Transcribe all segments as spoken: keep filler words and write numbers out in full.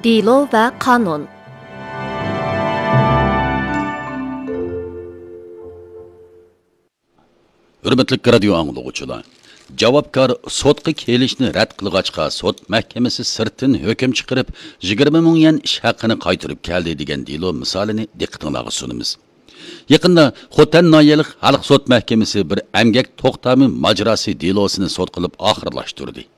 دېلو ۋە قانۇن. ھۆرمەتلىك رادىيو ئاڭلىغۇچىلار! جاۋابكار سوتقا كېلىشنى رەت قىلغاچقا، سوت مەھكىمىسى سىرتتىن ھۆكۈم چىقىرىپ، يىگىرمە مىڭ يۈەن ئىش ھەققىنى قايتۇرۇپ كەلدى، دېگەن دېلو مىسالىنى دىققىتىڭلارغا سۇنىمىز. يېقىندا خوتەن ناھىيەلىك خەلق سوت مەھكىمىسى بىر ئەمگەك توختامى ماجىراسى دېلوسىنى سوت قىلىپ ئاخىرلاشتۇردى.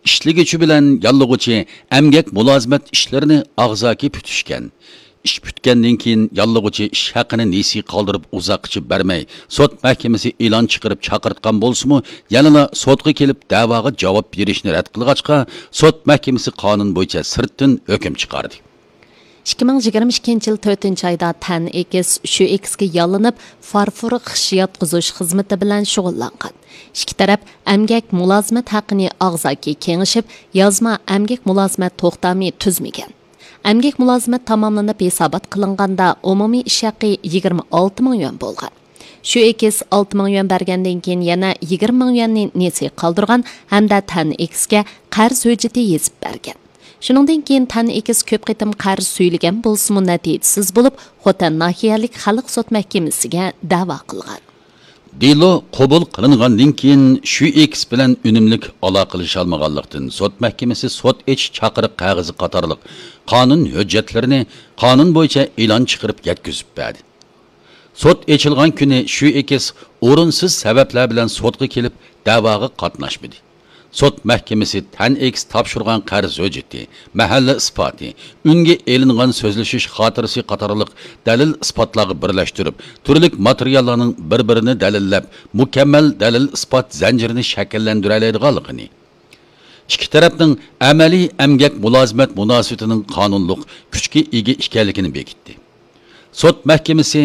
ئىشلىگۈچى بىلەن ياللىغۇچى ئەمگەك مۇلازىمەت ئىشلىرىنى ئاغزاكى پۈتۈشكەن. ئىش پۈتكەندىن كېيىن، ياللىغۇچى ئىش ھەققىنى نېسى قالدۇرۇپ ئۇزاققىچە بەرمەي، سوت مەھكىمىسى ئېلان چىقىرىپ چاقىرتقان بولسىمۇ، يەنىلا سوتقا كېلىپ دەۋاغا جاۋاب بېرىشنى رەت قىلغاچقا، سوت مەھكىمىسى قانۇن بويىچە سىرتتىن ھۆكۈم چىقاردى. ئىككى مىڭ يىگىرمە ئىككىنچى يىل تۆتىنچى ئايدا تەن ئېكىس شۈ ئېكىسكە ياللىنىپ، فارفور خىش ياتقۇزۇش خىزمىتى بىلەن شۇغۇللانغان. ئىككى تەرەپ ئەمگەك مۇلازىمەت ھەققىنى ئاغزاكى كېڭىشىپ، يازما ئەمگەك مۇلازىمەت توختامى تۈزمىگەن. ئەمگەك مۇلازىمەت تاماملىنىپ ھېسابات قىلىنغاندا، ئومۇمىي ئىش ھەققى يىگىرمە ئالتە مىڭ يۈەن بولغان. شۈ ئېكىس ئالتە مىڭ يۈەن بەرگەندىن كېيىن، يەنە يىگىرمە مىڭ يۈەننى نېسى قالدۇرغان ھەمدە تەن ئېكىسكە قەرز ھۆججىتى يېزىپ بەرگەن. شۇنىڭدىن كېيىن تەن ئېكىس كۆپ قېتىم قەرز سۈيلىگەن بولسىمۇ، نەتىجىسىز بولۇپ، خوتەن ناھىيەلىك خەلق سوت مەھكىمىسىگە دەۋا قىلغان. دېلو قوبۇل قىلىنغاندىن كېيىن، شۈ ئېكىس بىلەن ئۈنۈملۈك ئالاقىلىشالمىغانلىقتىن، سوت مەھكىمىسى سوت ئېچىش چاقىرىق قەغىزى قاتارلىق قانۇن ھۆججەتلىرىنى قانۇن بويىچە ئېلان چىقىرىپ يەتكۈزۈپ بەردى. سوت ئېچىلغان كۈنى شۈ ئېكىس ئورۇنسىز سەۋەبلەر بىلەن سوتقا كېلىپ، دەۋاغا قاتناشمىدى. سوت مەھكىمىسى تەن ئېكىس تاپشۇرغان قەرز ھۆججىتى، مەھەللە ئىسپاتى، ئۈنگە ئېلىنغان سۆزلىشىش خاتىرىسى قاتارلىق دەلىل ئىسپاتلارغا بىرلەشتۈرۈپ، تۈرلۈك ماتېرىياللارنىڭ بىر-بىرىنى دەلىللەپ، مۇكەممەل دەلىل ئىسپات زەنجىرىنى شەكىللەندۈرەلەيدىغانلىقىنى، ئىككى تەرەپنىڭ ئەمەلىي ئەمگەك مۇلازىمەت مۇناسىۋىتىنىڭ قانۇنلۇق كۈچكە ئىگە ئىكەنلىكىنى بېكىتتى. سوت مەھكىمىسى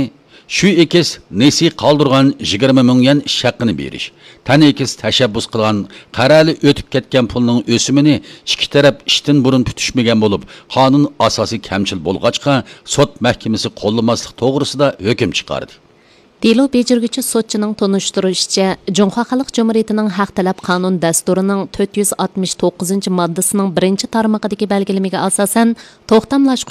شۈ ئېكىس نېسى قالدۇرغان يىگىرمە مىڭ يۈەن ئىش ھەققىنى بېرىش، تەن ئېكىس تەشەببۇس قىلغان قەرەلى ئۆتۈپ كەتكەن پۇلنىڭ ئۆسۈمىنى ئىككى تەرەپ ئىشتىن بۇرۇن پۈتۈشمىگەن بولۇپ، قانۇن ئاساسى كەمچىل بولغاچقا، سوت مەھكىمىسى قوللىماسلىق توغرىسىدا ھۆكۈم چىقاردى. دېلو بېجىرگۈچى سوتچىنىڭ تونۇشتۇرۇشىچە، جۇڭخۇا خەلق جۇمھۇرىيىتىنىڭ ھەق تەلەپ قانۇن دەستۇرىنىڭ تۆت يۈز ئاتمىش توققۇزىنچى ماددىسىنىڭ بىرىنچى تارمىقىدىكى بەلگىلىمىگە ئاساسەن، توختاملاشقۇچ